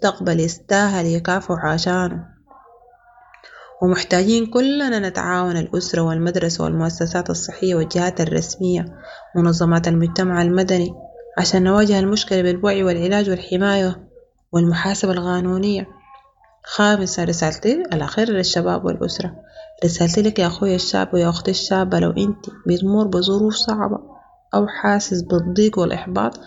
مستقبل يستاهل يكافحوا عشانو. ومحتاجين كلنا نتعاون الأسرة والمدرسة والمؤسسات الصحية والجهات الرسمية منظمات المجتمع المدني عشان نواجه المشكلة بالوعي والعلاج والحماية والمحاسبة القانونية. خامسا رسالتي الأخيرة للشباب والأسرة، رسالتي لك يا أخوي الشاب ويا أختي الشابة لو أنت بتمر بظروف صعبة أو حاسس بالضيق والإحباط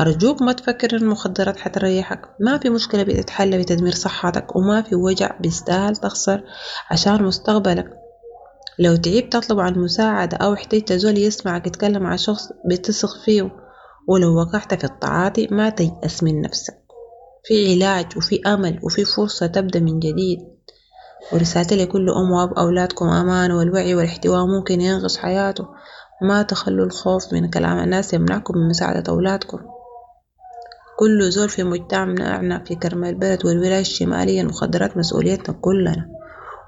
أرجوك ما تفكر المخدرات حتريحك، ما في مشكلة بتتحل بتدمير صحتك وما في وجع بيستاهل تخسر عشان مستقبلك. لو تعبت اطلب عن المساعدة أو احتجت زول يسمعك اتكلم مع شخص بتثق فيه، ولو وقعت في التعاطي ما تيأس من نفسك، في علاج وفي أمل وفي فرصة تبدأ من جديد. ورسالتي لكل أم وأب أولادكم أمانة والوعي والاحتواء ممكن ينقذ حياته، ما تخلوا الخوف من كلام الناس يمنعكم من مساعدة أولادكم. كل زول في مجتمعنا في كرم البلد والولاية الشمالية المخدرات مسؤوليتنا كلنا،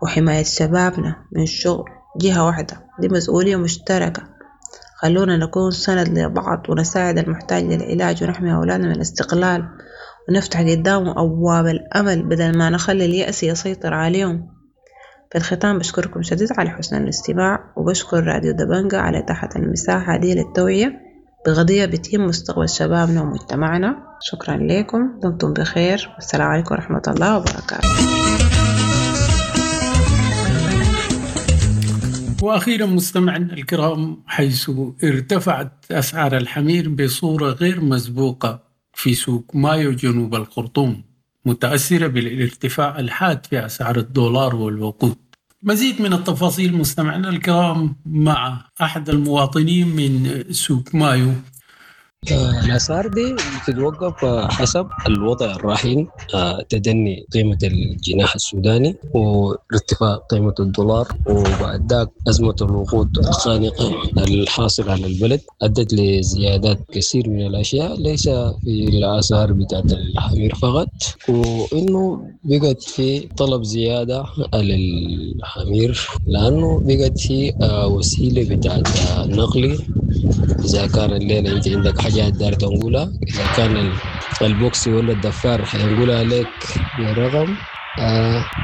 وحماية شبابنا من شغل جهة واحدة دي مسؤولية مشتركة. خلونا نكون سند لبعض ونساعد المحتاج للعلاج ونحمي أولادنا من الاستغلال ونفتح قدامهم أبواب الأمل بدل ما نخلي اليأس يسيطر عليهم. في الختام بشكركم شديد على حسن الاستماع، وبشكر راديو دبنقا على إتاحة المساحة دي للتوعية بقضية بتهم مستقبل شبابنا ومجتمعنا. شكرا لكم، دمتم بخير، والسلام عليكم ورحمة الله وبركاته. وأخيرا مستمعينا الكرام، حيث ارتفعت أسعار الحمير بصورة غير مسبوقة في سوق مايو جنوب الخرطوم، متأثرة بالارتفاع الحاد في أسعار الدولار والوقود. مزيد من التفاصيل مستمعينا الكرام مع أحد المواطنين من سوق مايو. الأسعار دي بتتوقف حسب الوضع الراهن، تدني قيمة الجنيه السوداني وارتفاع قيمة الدولار، وبعد ذاك أزمة الوقود الخانقة الحاصلة على البلد أدت لزيادات كثير من الأشياء، ليس في الأسعار بتاعت الحمير فقط، وإنه بقت في طلب زيادة على الحمير لأنه بقت في وسيلة بتاعت نقل. إذا كان الليلة أنت عندك حاجات دار تنقولها، إذا كان البوكسي ولا الدفار حينقولها لك برقم،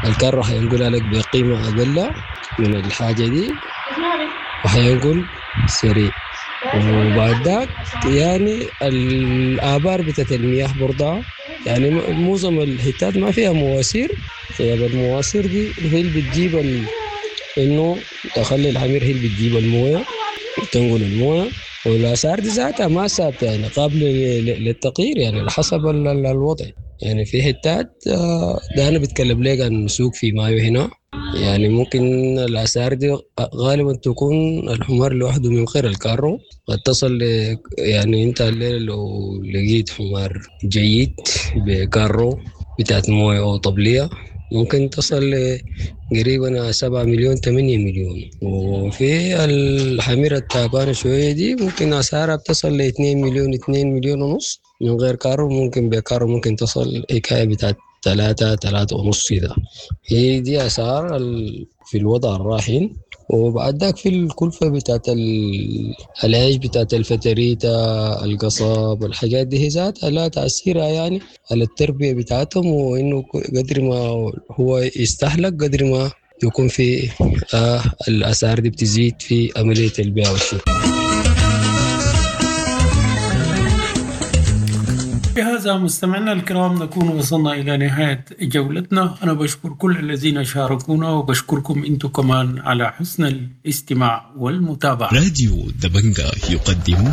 الكارو حينقولها لك بقيمة أقل من الحاجة دي وحينقل سريع. وبعد ذاك الآبار بتاعت المياه برضها، معظم الحتات ما فيها مواسير، غياب المواسير دي هي اللي بتجيب إنه تخلي الحمير هي اللي بتجيب المويه تنقل المويه. والأسعار دي ذاتها ما ثابتة، قابلة للتغيير، على حسب الوضع. في حتات، ده أنا بتكلم لك عن سوق في مايو هنا، ممكن الأسعار دي غالبا تكون الحمار لوحده من غير الكارو قد تصل أنت الليلة لو لقيت حمار جيد بكارو بتاعت موية أو طبلية ممكن تصل قريبا 7 مليون 8 مليون. وفي الحميرة التعبانة شوية دي ممكن أسعارها بتصل ل 2 مليون، 2 مليون ونص من غير كارو، ممكن بكارو ممكن تصل حكاية بتاعت 3، تلاتة ونص كده. هي دي أسعار في الوضع الراهن. وبعد ذاك في الكلفة بتاعت العيش بتاعت الفتريتة، القصاب، الحاجات دي هي ذاتها لا تأثيرها على التربية بتاعتهم، وإنه قدر ما هو يستهلك قدر ما يكون في الأسعار دي بتزيد في عملية البيع والشراء. بهذا مستمعينا الكرام نكون وصلنا إلى نهاية جولتنا. أنا بشكر كل الذين شاركونا وبشكركم أنتم كمان على حسن الاستماع والمتابعة. راديو دبنجا يقدم